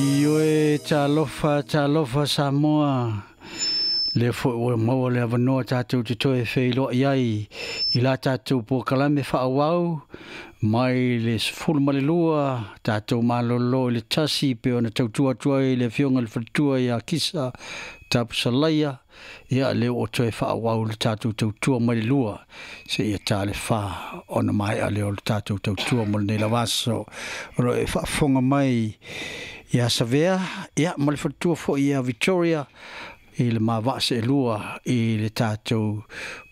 Ioe, talofa, talofa Samoa. Lea foi ua maua le avanoa tatou te toe feiloai ai i la tatou polokalame faaauau mai le 12 tatou malolo i le 1 pei ona tautua atu ai le Afioga i le Faletua ia Kisa Tapusalaia. Ia, lea ua toe faaauau le tatou tautua mai le 2 seia ta le 4 ona maea lea o le tatou tautua mo lenei lava aso. O lo o e faafofoga mai ia Savea, ia, ma le faletua foi ia Victoria i le mavaa seelua i le tatou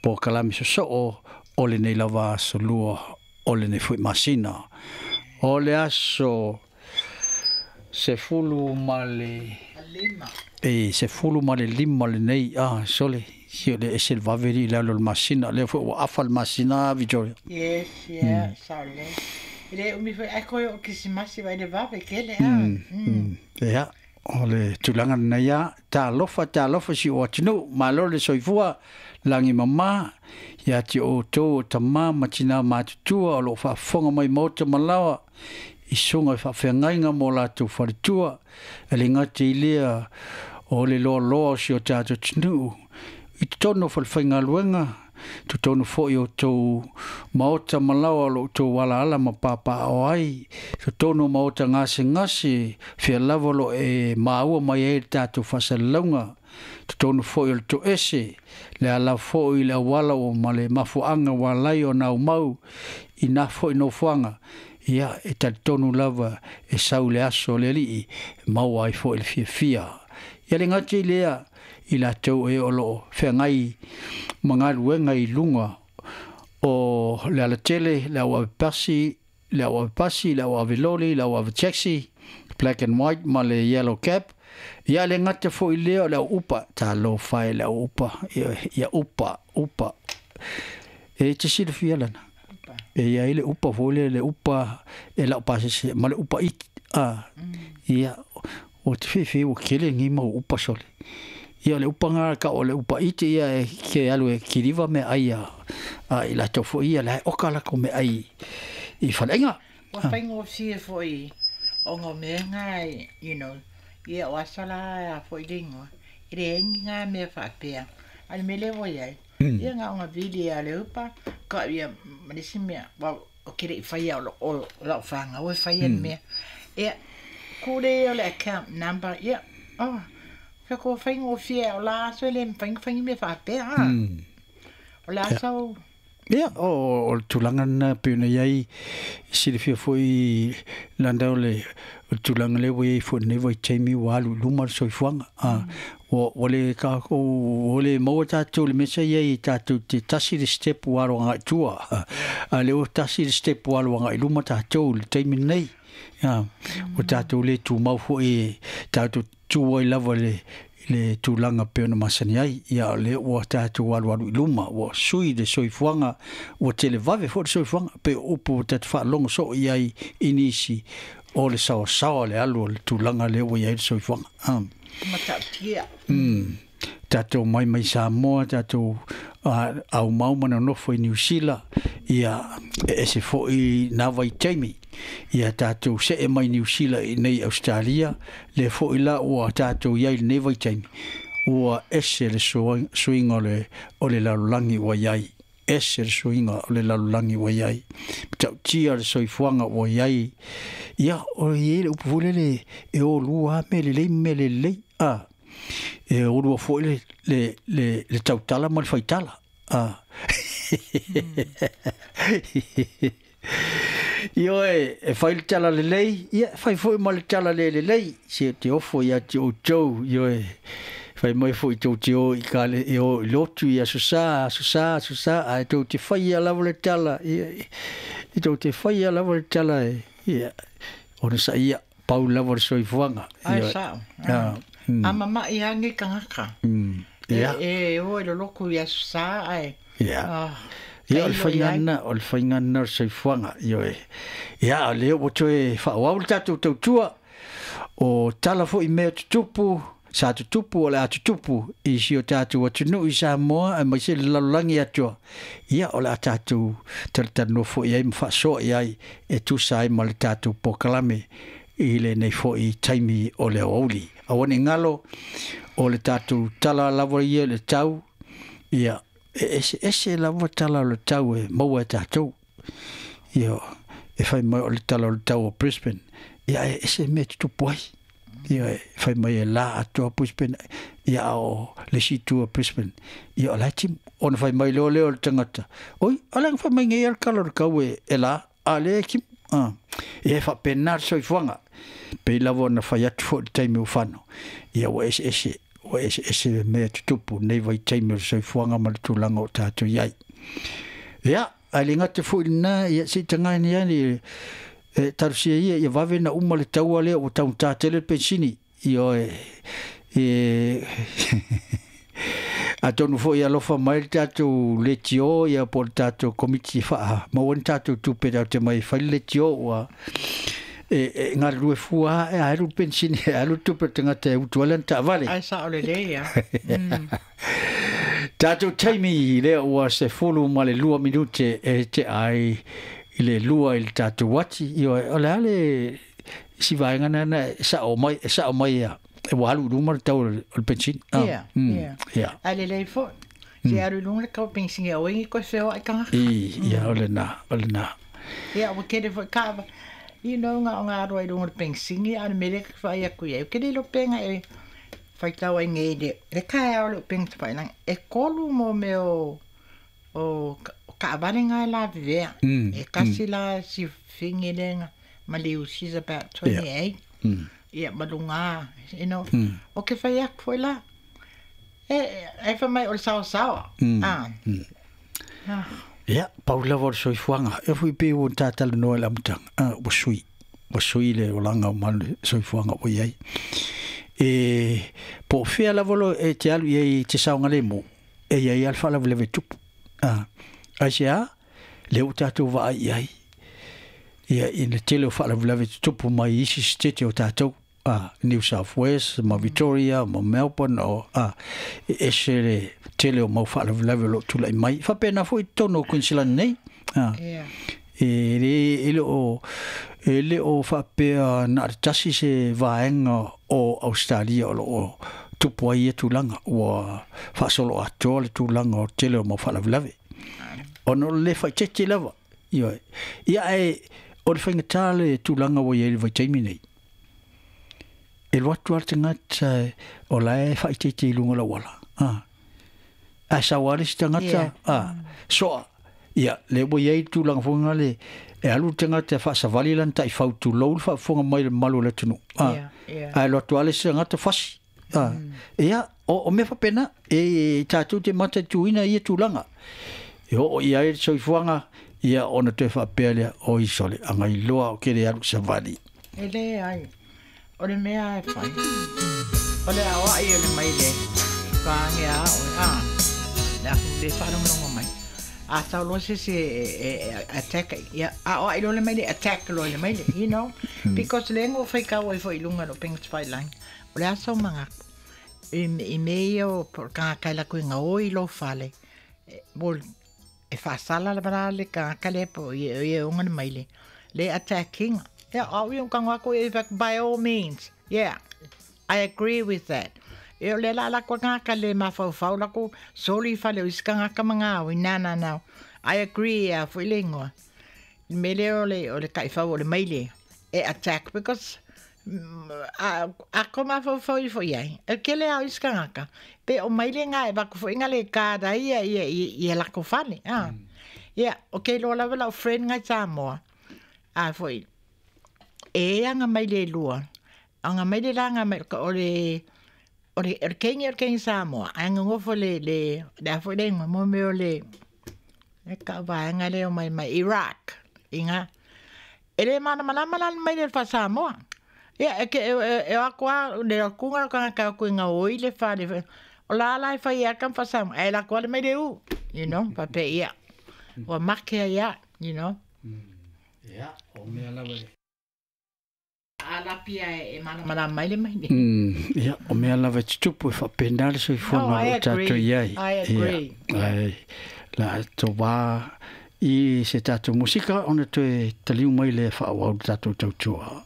polokalame sosoo o lenei lava aso lua o lenei foi masina. O le aso 15 lenei, sole, si o le ese le vave li le alo o le masina, lea foi ua afa le masina, Victoria. Yes, yeah, sao lelei. E le umi foi ae koe o Kerisimasi vai le vave tele a. Ia, o le tulaga lenei a, talofa, talofa si o atunuu, malo le soifua, lagi mama, ia te outou o tama ma tina matutua o lo o faafofoga mai maota ma laoa, i susuga i faafeagaiga mo latou faletua, e le gata i lea o le loaloa o si o tatou atunuu, i totonu o falefaigaluega, totonu foi o tou maota ma laoa o lo o outou alaala ma papaaao ai, totonu o maota gasegase, fea lava o lo o e maua mai ai le tatou faasalalauga, totonu foi o le toese, le ala foi i le auala ua ma le mafuaaga ua ala ai ona aumau i na foi nofoaga, ia, e talitonu lava e sau le aso o le Alii e maua ai foi le fiafia. Ia le gata i lea, i latou e o lo o feagai ma galuega i luga o le alatele, le au ave pasi, le au ave pasi, le au ave loli, le au ave taxi, black and white ma le yellow cab. Ia le gata foi i lea o le au upa, talofa e le au upa, ia upa, upa. E te silafia lana. E i ai le upa foi lea, le upa e lau pasese ma le upa iti. Ia, o te fiafia ua tele ni mau upa sole. Ia o le upa ngā ka o le upa iti ia e ke alu e kiriva me ai a i latou foi ia la e oka lako me ai i faleaiga. Ua faigofie foi ona o mea ngā, you know, ia o aso la a foi le ingoa, e leai ni ngā mea faapea. A o le mea lea ua i ai, ia na ona vili lava o le upa, ka ia ma le isi mea, well, ou te le i faia o lau fanau e faia le mea. Ia, ku le ia o le account number, ia, oh, fai atu ua faigofie lava, o la aso e le mafai ona fai ni mea faapea, a. O le aso. Ia, o le tulaga lena e pei ona i ai, e silafia foi Landa o le tulaga lea ua i ai foi i lenei vaitaimi ua alu i luma le soifuaga. Ua le tatou, ua le maua tatou i le mea sa i ai tatou te tasi le step ua alu agai i tua, a o lea ua tasi le step ua alu agai i luma tatou i le taimi lenei. Ua tatou le tumau foi tatou tu ai lava i le tulaga pei ona masani ai. Ia, o lea ua tatou alualu i luma, ua sui le soifuaga, ua televave foi le soifuaga, pei o upu ua tatou faalogo soo i ai i nisi, o le saoasaoa le alu o le tulaga lea ua i ai le soifuaga. Matautia. Tatou mai mai Samoa, tatou aumau ma nonofo i Niu Sila, ia, e ese foi na vaitaimi. Ia tatou see mai Niu Sila i nei Ausetalia, lea foi la ua tatou i ai i lenei vaitaimi, ua ese le suiga o le lalolagi ua i ai, ese le suiga o le lalolagi ua i ai, matautia le soifuaga ua i ai. Ia, o i ai le upu foi lele, e o lua lava mea lelei ma mea le lelei, a, e o lua foi le tautala ma le faitala. Ioe, e fai le tala lelei, ia, e fai foi ma le tala le lelei, se te ofo ia te outou, ioe, fai mai foi tou te o i kale, e o i lotu i aso Sa, aso Sa, aso Sa, ae tou te faia lava le tala, ia, e tou te faia lava le tala, e, ia, ona sa ia, pau lava le soifuaga. Ae sao. A mama'i lava nei tagata. E o i le lotu i Aso Sa ae. Ia. Ia, o le faiga lena, o le faiga lena o le soifuaga. Ioe. Ia, o lea ua toe faaauau le tatou tautua, o tala foi i mea tutupu, sa tutupu, o le a tutupu i si o tatou atunuu i Samoa aemaise le lalolagi atoa. Ia, o le a tatou talatalanoa foi i ai ma faasoa i ai e tusa ai ma le tatou polokalame i lenei fo'i taimi o le aoauli. Aua ne i galo o le tatou tala lava ia i le tau, ia, e eseese lava tala o le tau e maua e tatou. Ia, e fai mai o le tala o le tau o Brisbane, ia e ese mea e tutupu ai. Ia, e fai mai e la atoa Brisbane, ia a o le isi itu o Brisbane, ia o la e timu. Ona fai mai loa lea o le tagata, oi, a le aga fai mai nei le tala o le tau e la, a lea e timu. Ia e faapena le soifuaga, pei lava ona fai atu foi i le taimi ua fano, ia ua eseese, ua eseese mea e tutupu nei vaitaimi o le soifuaga ma le tulaga o tatou i ai. Ia, ae le gata foi i lena, ia se i tagaina ane e talosia ia ia vave ona uma le taua lea ua taugata tele le penisini. Ioe, e atonu foi e alofa mai le tatou leitio ia po o le tatou komiti e faamaua ni tatou tupe tatou te mai e fai le leitio ua e galulue fua e alu le penisini e alu le tupe o le tagata e utu ai lana taavale. Ai sao lelei ia. Tatou taimi lea ua 12 minute e tea ai i le 2 i le tatou ati. Ioe, o le a le isi vaega lena e sao mai, e sao mai ia, e ua alu i luma le tau o le penisini. Ia, ia. Ia. Ae lelei foi. Se alu i luga le tau o le penisini aua ne i toe feoai tagata. Ia, o lena, o lena. Ia, ua tele foi kava. You know, na o nga alu ai i luga o le penisini, a o le mea lea e vaai atu i ai, ou te le iloa pe na e faitau ai nei i le taeao o le upega tafailagi, e 3 mo mea o o taavale na e lavevea. E tasi la si fini lea na maliu, she's about 28. Ia, ma luga, you know. O ke fai atu foi la, e fai mai o le saosaoa. Ia, pau lava o le soifuaga. E foi pei ua ta talanoa i le amataga, ua sui. Ua sui le olaga ma le soifuaga ua i ai. E po o fea lava lo e te alu i ai i te saogalemu, e i ai lava le faalavelave e tupu. Aisea? Lea ua tatou vaai i ai, ia, i le tele o faalavelave e tutupu mai i isi sitete o tatou. New South Wales ma Victoria ma Melbourne o e ese le tele o mau faalavelave o lo o tulai mai. Faapena foi i totonu o Queensland nei. E le, e le o, e le o faapea na o le tasi se vaega o Australia o lo o tupu ai ia tulaga. Ua faasolo atoa le tulaga o le tele o mau faalavelave. Ona o le le faaeteete lava. Ioe. Ia ae o le faigata le tulaga ua i ai i le vaitaimi nei. E alu atu lava le tagata o la e faaeteete i luga o le auala, ae sau lava le isi tagata, soa. Ia, lea ua i ai le tulaga foi lena le, e alu le tagata e faasavali lana taifau tulou le faafofoga mai le mamalu o le atunuu, ae alu atu lava le isi tagata fasi. Ia, o mea faapena, e tatou te mataituina ia tulaga. E oo i ai le soifuaga, ia ona toe faapea lea, oi sole, agailoa ou te le alu i savali. E leai. O le mea e fai, o le aoai o le maile i pāngia a oe, a, le aku le whaalongolongo mai. A tau loa se isi e attack, ia, aoai loa le maile, attack loa i le maile, you know. Because le ngo whai kau ai fo i lunga no penga te whai langi. O le aso mangaku, i me ia o kanga kai lako i ngā oi lo whale, mo e whasala la bara le kanga kale po i e unga le maile. Le attacking. Yeah, au ia kanga ako e by all means. Yeah, I agree with that. E o le la la ko ngā ka le mawhauwhau la ko soli whale o isi ka ngā ka manga au i nā nā nā. I agree a fo i le ingoa. Me le o le, o le kaiwhau o le maile e attack because a ko mawhauwhau i fo i ai. E ke le au isi ka ngā ka. Pe o maile ngā e wako fo inga le kāda ia ia ia ia lako whale. Yeah, okay, lo lava lau friend ngai Samoa. A fo i. E anga mai le lua. Anga mai le la anga mai o le o le o le kengi o le kengi Samoa. Anga ngofo le le le a fo le ingoa mo mea o le e ka vaenga le o mai mai Iraq. Inga e le malamalama la mai le fa Samoa. Ia e ke e o akoa le kunga ka ka ku inga oi le fa le o la la e fai a ka fa Samoa. E la koa le mai le u. You know, pa pe ia. Ua make ia, you know. Ia, o mea lava e. A lapi a e malamalama mai le mai nei. Ia, o mea lava e tutupu e faapena le soifuaga No, I o tatou agree. i ai. I agree. Ia, ai, la to wā i se tatou musika ona toe taliu mai lea faaauau le tatou tautua.